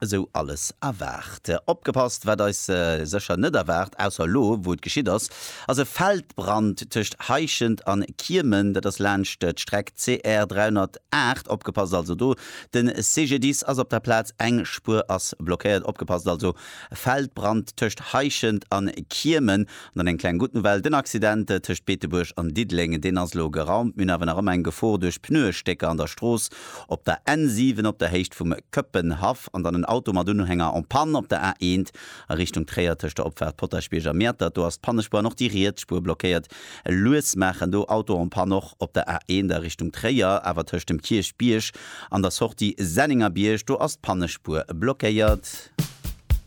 Esou alles erwaart. Opgepasst, wat eis sécher net erwaart, ausser elo wou et geschitt ass, ass e Feldbrand tëscht Heischent an Kiemen. Dat ass laanscht d'Streck CR 308. Opgepasst also do, den CGDIS ass op der Plaz, eng Spuer ass blockéiert. Opgepasst also, Feldbrand tëscht Heischent an Kiemen. An dann eng kleng gutt Nouvelle, Den Accident tëscht Beetebuerg an Diddeleng, deen ass elo geraumt. Mir hunn awer nach ëmmer eng Gefor duerch Pneuestécker an der Strooss op der N7 op der Héicht vum Këppenhaff an dann en Auto mat Unhänger en panne op der A1 a Richtung Tréier tëscht der Opfaart Potaschbierg a Mäertert. Do ass d'Pannespuer an och déi riets Spuer blockéiert. Lues maachen do Auto en panne och op der A1 a Richtung Tréier, awer tëscht dem Kierchbierg an der Sortie Sennengerbierg, do ass d'Pannespuer blockéiert.